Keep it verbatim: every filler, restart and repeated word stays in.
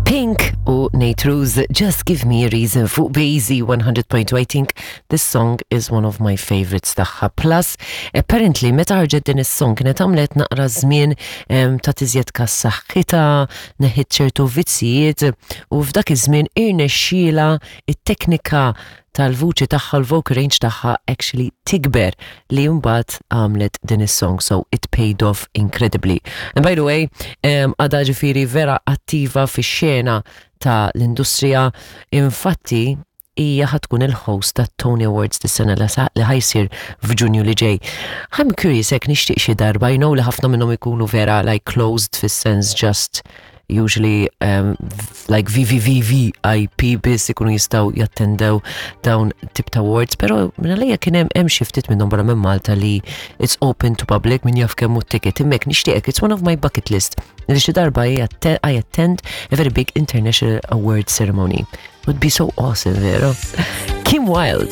Pink u Nate Ruess, Just Give Me a Reason fuq Bazy one hundred point two. I think this song is one of my favorites tagħha. Plus, apparently, meta ħarġet din is-song kienet għamlet naqra żmien em, ta' tiżjed kas saħħitha, neħħiet ċertu vizzijiet u f'dak iż-żmien irnexxiela it-teknika tal-vuċi tagħha, l-vocal range tagħha actually tikber li mbagħad għamlet din is-song, so it paid off incredibly. And by the way, um, għadha ġifieri vera attiva fix-xena ta' l-industrija, infatti hija ħa tkun il-host ta' Tony Awards dis-sena li sa- li ħa jsir f'Ġunju li ġej. I'm curious hekk nixtieq xi darba, you know li ħafna minnhom ikunu vera like closed fis-sens just usually um, like V V V V I P biss ikunu jistgħu jattendew dawn tip ta' awards, pero minn għalija kien hemm hemm xi ftit minnhom barra minn Malta li it's open to public, min jaf kemm hu ticket. Imma nixtieq, it's one of my bucket list li xi darba I atte- I attend a very big international award ceremony. Would be so awesome, vero? Kim Wilde.